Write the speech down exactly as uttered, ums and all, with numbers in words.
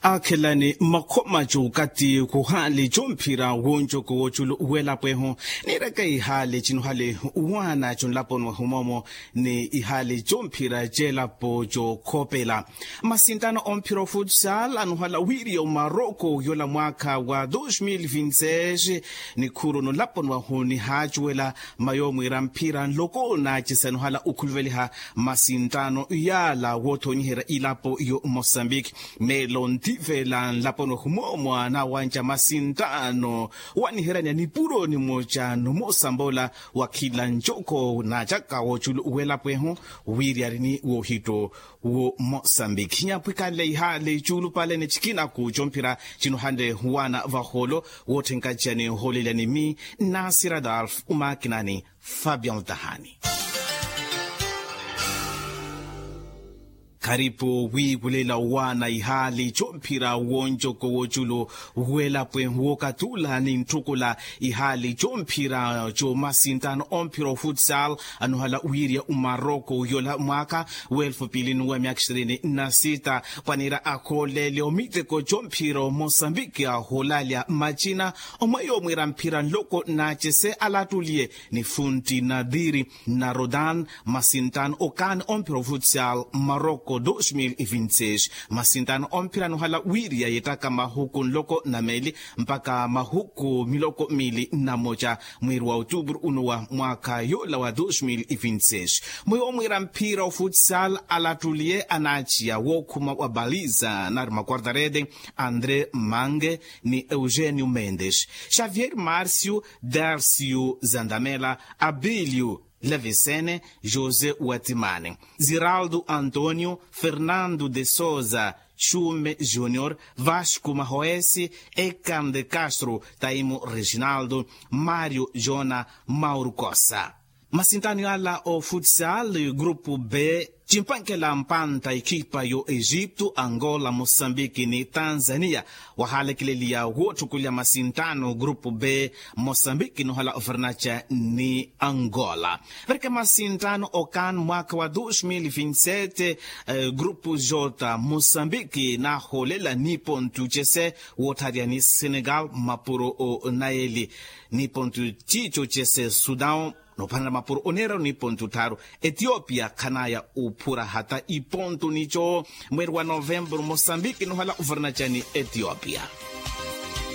Akhelani makhoma c'okati khuhaali c'omphira wonjoko w'oculu w'elapweho, niiraka ihaali cinuhale uwaana c'onlaponi wa humoomo ni ihaali c'omphira c'elapo c'okhopela. Masintano omphira ofutsal anuhala wiiriya omaroko yola mwaakha wa dos mil vinti seis, nikhuru nolaponi wahu nihaacuwela mayo mwiira mphira nloko naacisa nuhala okhuluveliha masintano yaala woothonyiherya ilapo yo mosambiki. Meelo ntivela nlaponi wahu moomwa nawanca masintano waniheryanya nipuro nimoca nomosambola wa khila ncoko naacaka woculu welapo ehu wiiri arini wohitto wo mosambiki nyapwikanle ihaali cuulupale ni cikinaku comphira cinuhanle wana vaholo. Wotthenkaca ni hoolelya ni mi nasir adolf umakinani fabian tahani. Kharipo wiikulela owaana ihaali comphira wonjoko woculu welapo ehu wookatula ni ntthukula ihaali comphira comasintano omphira ofutsal anuhala wiiriya omaroko yola mwaakha weelfu piili nuwa myaakha ishirini na sita. Pwanira akhoolele omiteko comphira omosambiki aholalya macina omweyo mwiira mphira nloko naacese alattuliye ni funti nadiri na rodan masintano okaani omphira ofutsal maroko dos mil vinti seis. Masintano omphira anuhala wiiriya yeettaka mahuku nloko na meeli mpakha mahuku miloko miili na moca mwiiri wa otuburu unu wa mwaakha yoola wa dos mil vinti seis. Mwiiwo mwiira mphira ofutsal alattuliye anaaciya wookhuma wa baliza nari makuartarete andre mange ni eugenio mendes xavier marcio darcio zandamela abilio levisene josé watimani ziraldo antonio fernando de sousa xume junior vasco mahoesi ekan de castro taimo reginaldo mario jona mauro cossa. Masintano yaala ofutsal grupu b cimpankela mpanta ekipa yo egipto angola mosambiki ni tanzania. Wahalekeleliya wotthukulya masintano grupu b mosambiki nohala ofernaca ni angola. Varika masintano okan mwaka wa dos mil vinti sete grupu jota mosambiki naholela ni pontu cese wottharya ni senegal mapuro o nayeli ni pontu cico cese sudan nopanela mapuro oneera ni pontu tharu. Etiopia khanaya uphura hata ipontu nico mweri wa novembro mosambiki nohala ufernaca ni etiopia.